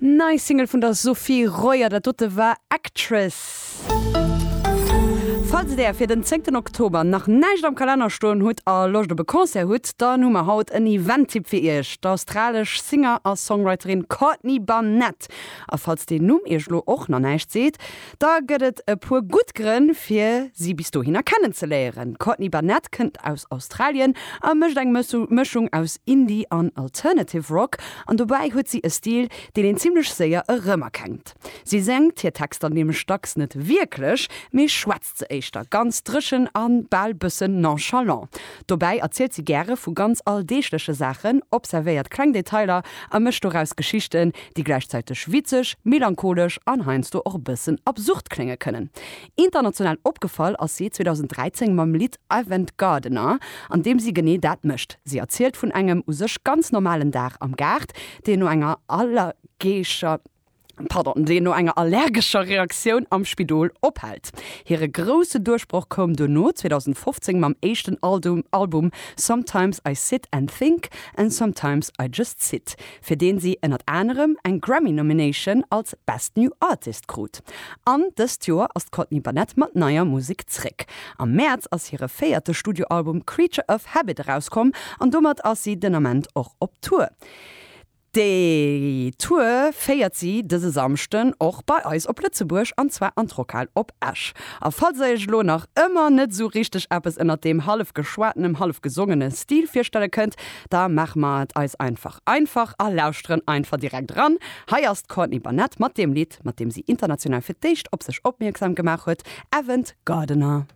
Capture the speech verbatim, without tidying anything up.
Nei Single vun der Sophie Royer, dat dote war Actress. Falls der fir den zéngten Oktober nach näischt am Kalenner stoen hutt a Loscht op e Concert hutt, dann hu mer haut en Event-Tipp fir iech, d'australesch Singer a Songwriterin Courtney Barnett. A falls deen Numm iech lo och nach näischt seet, da gëtt et e puer gutt Grënn fir si bis dohinner kennenzeléieren. D'Courtney Barnett kënnt aus Australien a mécht eng Mëschung aus Indie an Alternative Rock an dobäi huet si e Stil, deen een zimmlech séier erëmerkennt. Si séngt hir Texter nämlech dacks net wierklech, mee schwätzt se éischter ganz dréchen a bal bëssen nonchalant. Dobäi erzielt si gäre vu ganz alldeegleche Saachen, observéiert kleng Detailer a mécht doraus Geschichten, déi gläichzäiteg witzeg, melancholesch an heiansdo och e bëssen absurd klénge kënnen. International opgefall ass si zweedausenddräizéng mam Lidd Avant Gardener, an deem si genee dat mécht, Si erzielt vun engem u sech ganz normalen Dag am Gaart, deen no enger allergescher pardon, deen no enger allergescher Reaktioun am Spidol ophält. Hire grousse Duerchbroch koum duerno zweedausendfofzéng mam éischten Album Sometimes I Sit and Think and Sometimes I Just Sit, fir deen si ënnert anerem eng Grammy-Nomination als Best New Artist krut. An dëst Joer ass d'Courtney Barnett mat neier Musek zréck. Am Mäerz ass hire véierte Studioalbum Creature of Habit erauskomm an domat ass si den Ament och op Tour. Déi Tour féiert si dëse Samschden och bei eis op Lëtzebuerg, an zwar an d'Rockhal op Esch. A falls der iech elo nach ëmmer net esou richteg eppes ënnert deem hallef geschwatenem, hallef gesongene Stil virstelle kënnt, da maache mer et eis einfach einfach a lauschteren einfach direkt eran. Hei ass d'Courtney Barnett mat deem Lidd, mat deem si international fir d'éischt op sech opmierksam gemaach huet, Avant Gardener.